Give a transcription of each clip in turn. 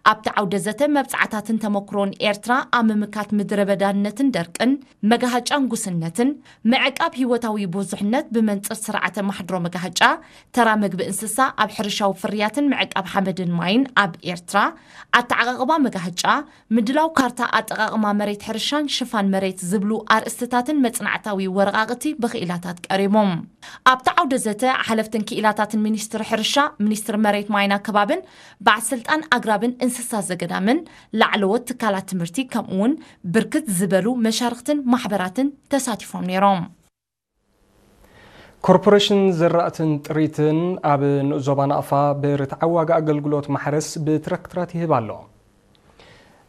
ኣብቲ ዓውደ ዘተ መብጻዕታትን ተመክሮን ኤርትራ ኣብ ምምካት ምድረ በዳነትን ደርቅን፣ መጋሃጫን ጉስነትን፣ ምዕቃብ ህይወታዊ ብዙሕነት ብመንጽር ስርዓተ ማሕድሮ መጋሃጫ፣ ተራ መግቢ እንስሳ ኣብ ሕርሻዊ ፍርያትን ምዕቃብ ሓመድን ማይን ኣብ ኤርትራ፣ ኣተዓቓቕባ መጋሃጫ፣ ምድላው ካርታ ኣጠቓቕማ መሬት ሕርሻን ሽፋን መሬት ዝብሉ ኣርእስትታትን መጽናዕታዊ ወረቓቕቲ ብክኢላታት ቀሪቦም። ኣብቲ ዓውደ ዘተ ሓለፍትን ክኢላታትን ሚኒስትሪ ሕርሻ፣ ሚኒስትሪ መሬት ማይን ኣከባብን በዓል ስልጣን ኣግራብን እንስሳ ዘገዳምን ላዕለዎት ትካላት ትምህርቲ ከምኡ እውን ብርክት ዝበሉ መሻርክትን ማሕበራትን ተሳቲፎም ነይሮም። ኮርፖሬሽን ዘራእትን ጥሪትን ኣብ ንኡስ ዞባ ናቕፋ ብርትዓዊ ዋጋ ኣገልግሎት ማሕረስ ብትራክተራት ይህብ ኣሎ።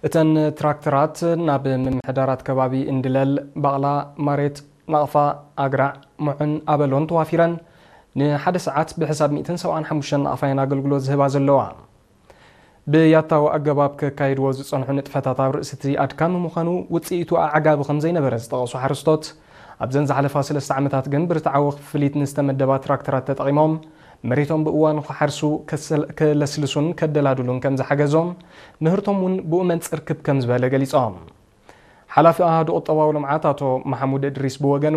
እተን ትራክተራት ናብ ምምሕዳራት ከባቢ እንድለል፣ ባቕላ፣ ማሬት፣ ናቕፋ፣ ኣግራዕ፣ ሙዑን ኣበሎን ተዋፊረን ንሓደ ሰዓት ብሕሳብ ሚእትን ሰብዓን ሓሙሽተን ናቕፋ እየን ኣገልግሎት ዝህባ ዘለዋ። ብያታዊ ኣገባብ ከካይድዎ ዝጸንሑ ንጥፈታት ኣብ ርእሲ እቲ ኣድካሚ ምዃኑ፣ ውጽኢቱ ኣዕጋቢ ከም ዘይነበረ ዝጠቐሱ ሓረስቶት፣ ኣብዘን ዝሓለፋ ሰለስተ ዓመታት ግን ብርትዓዊ ክፍሊት ንዝተመደባ ትራክተራት ተጠቒሞም መሬቶም ብእዋኑ ክሓርሱ፣ ከሰል-፣ ከለስልሱን ከደላድሉን ከም ዝሓገዞም፣ ምህርቶም እውን ብኡ መንጽር ክብ ከም ዝበለ ገሊጾም። ሓላፊ ኣሃዱ ቁጠባዊ ልምዓት ኣቶ መሓሙድ እድሪስ ብወገኑ፣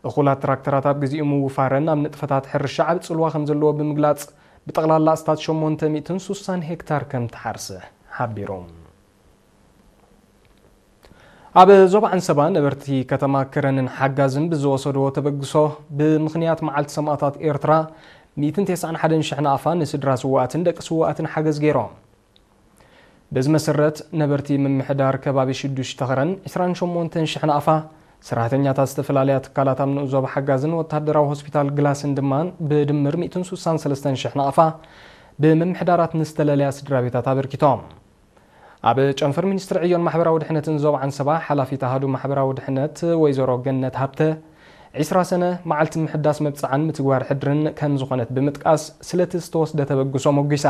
እኹላት ትራክተራት ኣብ ግዜኡ ምውፋረን ኣብ ንጥፈታት ሕርሻ ዓቢ ጽልዋ ከም ዘለዎ ብምግላጽ፣ ብጠቕላላ ኣስታት ሸሞንተ ሚእትን ሱሳን ሄክታር ከም ትሓርስ ሓቢሩ። ኣብ ዞባ ዓንሰባ ነበርቲ ከተማ ከረንን ሓጋዝን ብዝወሰድዎ ተበግሶ፣ ብምኽንያት መዓልቲ ሰማእታት ኤርትራ፣ ሚእትን ተስዓን ሓደን ሽሕ ናቕፋ ንስድራ ስውኣትን ደቂ ስውኣትን ሓገዝ ገይሮም። በዚ መሰረት፣ ነበርቲ ምምሕዳር ከባቢ ሽዱሽተ ከረን ዕስራን ሸሞንተን ሽሕ ናቕፋ፣ ሰራሕተኛታት ዝተፈላለያ ትካላት ኣብ ንኡስ ዞባ ሓጋዝን ወተሃደራዊ ሆስፒታል ግላስን ድማ ብድምር ሚእትን ሱሳን ሰለስተን ሽሕ ናቕፋ ብምምሕዳራት ንዝተለለያ ስድራ ቤታት ኣበርኪቶም። ኣብ ጨንፈር ሚኒስትሪ ዕዮን ማሕበራዊ ድሕነትን ዞባ ዓንሰባ ሓላፊት ኣሃዱ ማሕበራዊ ድሕነት ወይዘሮ ገነት ሃብተ፣ ዕስራ ሰነ መዓልቲ ምሕዳስ መብጽዓን ምትግባር ሕድርን ከም ዝኾነት ብምጥቃስ፣ ስለቲ ዝተወስደ ተበግሶ ሞጒሳ።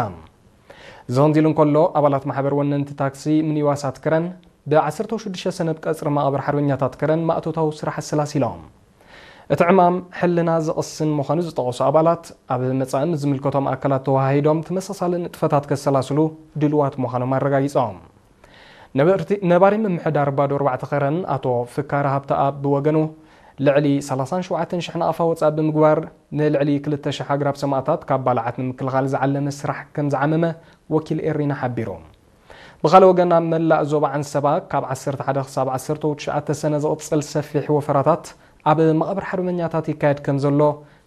እዚ ከምዚ ኢሉ እንከሎ፣ ኣባላት ማሕበር ወነንቲ ታክሲ ሚኒባሳት ከረን ብ ዓሰርተ ሽዱሽተ ሰነ ብ ቀጽሪ መቓብር ሓርበኛታት ከረን ማእቶታዊ ስራሕ ኣሰላሲሎም። እቲ ዕማም ሕልና ዘቕስን ምዃኑ ዝጠቐሱ ኣባላት፣ ኣብ መጻኢ ምስ ዝምልከቶም ኣካላት ተወሃሂዶም ተመሳሳሊ ንጥፈታት ከሰላስሉ ድልዋት ምዃኖም ኣረጋጊጾም። ነበርቲ-፣ ነባሪ ምምሕዳር ባዶ ኣርባዕተ ከረን ኣቶ ፍካረ ሃብተኣብ ብወገኑ፣ ልዕሊ ሰላሳን ሸውዓተን ሽሕ ናቕፋ ወጻኢ ብምግባር፣ ንልዕሊ ክልተ ሽሕ ኣግራብ ሰማእታት ካብ ባልዓት ንምክልኻል ዝዓለመ ስራሕ ከም ዝዓመመ ወኪል ኤሪና ሓቢሩ። ብኻልእ ወገን፣ ኣብ መላእ ዞባ ዓንሰባ ካብ ዓሰርተ ሓደ ክሳብ ዓሰርተ ትሽዓተ ሰነ ዝቕጽል ሰፊሕ ወፈራታት ኣብ መቓብር ሓርበኛታት ይካየድ ከም ዘሎ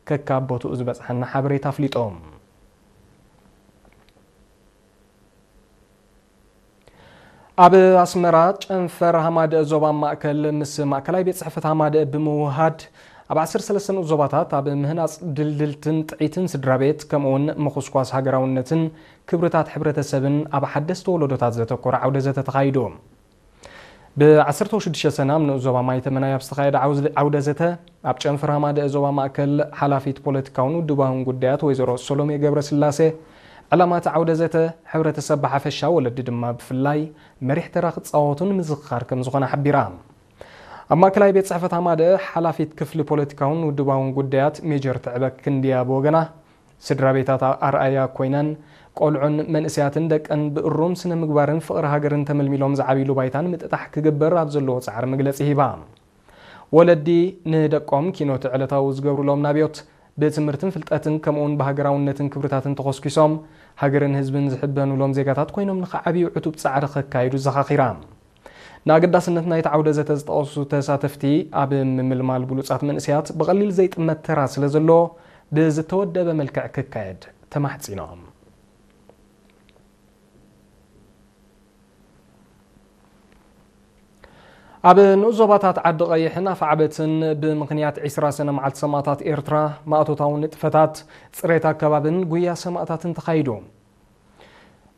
ከካብ ቦትኡ ዝበጽሐና ሓበሬታ ኣፍሊጡ። ኣብ ኣስመራ፣ ጨንፈር ሃማደአ ዞባ ማእከል ምስ ማእከላይ ቤት ጽሕፈት ሃማደአ ብምውሃድ፣ ኣብ ዓሰርተ ሰለስተ ንኡስ ዞባታት ኣብ ምህናጽ ድልድልትን ጥዒትን ስድራ ቤት፣ ከምኡውን ምኹስኳስ ሃገራውነትን ክብርታት ሕብረተሰብን ኣብ ሓደስቲ ወለዶታት ዘተኮረ ዓውደ ዘተ ተኻይዱ። ብ ዓሰርተ ሽዱሽተ ሰነ ኣብ ንኡስ ዞባ ማይተመናይ ኣብ ዝተኻየደ ዓውዝ-፣ ዓውደ ዘተ፣ ኣብ ጨንፈር ሃማደአ ዞባ ማእከል ሓላፊት ፖለቲካውን ውድባውን ጉዳያት ወይዘሮ ሰሎሜ ገብረስላሴ፣ ዕላማ እቲ ዓውደ ዘተ፣ ሕብረተሰብ ብሓፈሻ፣ ወለዲ ድማ ብፍላይ መሪሕ ተራ ክጻወቱ ንምዝኽኻር ከም ዝኾነ ሓቢራ። ኣብ ማእከላይ ቤት ጽሕፈት ሃማደአ ሓላፊት ክፍሊ ፖለቲካውን ውድባውን ጉዳያት ሜጀር ትዕበ ክንድያ ብወገና፣ ስድራ ቤታት ኣርኣያ ኮይነን፣ ቆልዑን መንእሰያትን ደቀን ብእሩም ስነ ምግባርን ፍቕሪ ሃገርን ተመልሚሎም ዝዓብይሉ ባይታ ንምጥጣሕ ክግበር ኣብ ዘለዎ ጻዕሪ መግለጺ ሂባ። ወለዲ ንደቆም ኪኖቲ ዕለታዊ ዝገብሩሎም ናብዮት፣ ብትምህርትን ፍልጠትን ከምኡውን ብሃገራውነትን ክብርታትን ተኾስኪሶም፣ ሃገርን ህዝብን ዝሕበኑሎም ዜጋታት ኮይኖም ንኽዓብዩ ዕቱብ ጻዕሪ ከካይዱ ዘኻኺራ። ንኣገዳስነት ናይቲ ዓውደ ዘተ ዝጠቐሱ ተሳተፍቲ፣ ኣብ ምምልማል ብሉጻት መንእሰያት ብቐሊል ዘይጥመት ተራ ስለ ዘለዎ፣ ብዝተወደበ መልክዕ ክካየድ ተማሕጺኖም። ኣብ ንኡስ ዞባታት ዓዲ ቀይሕን ኣፍዓበትን ብምኽንያት ዕስራ ሰነ መዓልቲ ሰማእታት ኤርትራ፣ ማእቶታዊ ንጥፈታት፣ ጽሬት ኣከባብን ጉያ ሰማእታትን ተኻይዱ።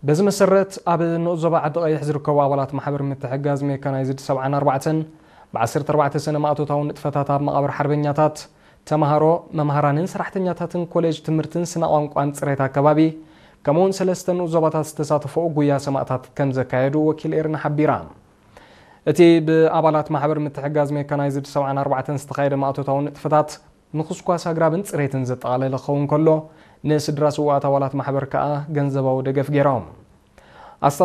በዚ መሰረት፣ ኣብ ንኡስ ዞባ ዓዲ ቀይሕ ዝርከቡ ኣባላት ማሕበር ምትሕግጋዝ ሜካናይዝድ ሰብዓን ኣርባዕተን፣ ብ ዓሰርተ ኣርባዕተ ሰነ ማእቶታዊ ንጥፈታት ኣብ መቓብር ሓርበኛታት፣ ተማሃሮ፣ መምሃራንን ሰራሕተኛታትን ኮሌጅ ትምህርትን ስነ ቋንቋን ጽሬት ኣከባቢ፣ ከምኡውን ሰለስተ ንኡስ ዞባታት ዝተሳተፈኡ ጉያ ሰማእታት ከም ዘካየዱ ወኪል ኤርና ሓቢራ። እቲ ብኣባላት ማሕበር ምትሕግጋዝ ሜካናይዝድ ሰብዓን ኣርባዕተን ዝተኻየደ ማእቶታዊ ንጥፈታት፣ ምኹስኳስ ኣግራብን ጽሬትን ዘጠቓለለ ክኸውን ከሎ፣ ንስድራ ስዉኣት ኣባላት ማሕበር ከኣ ገንዘባዊ ደገፍ ገይሮም።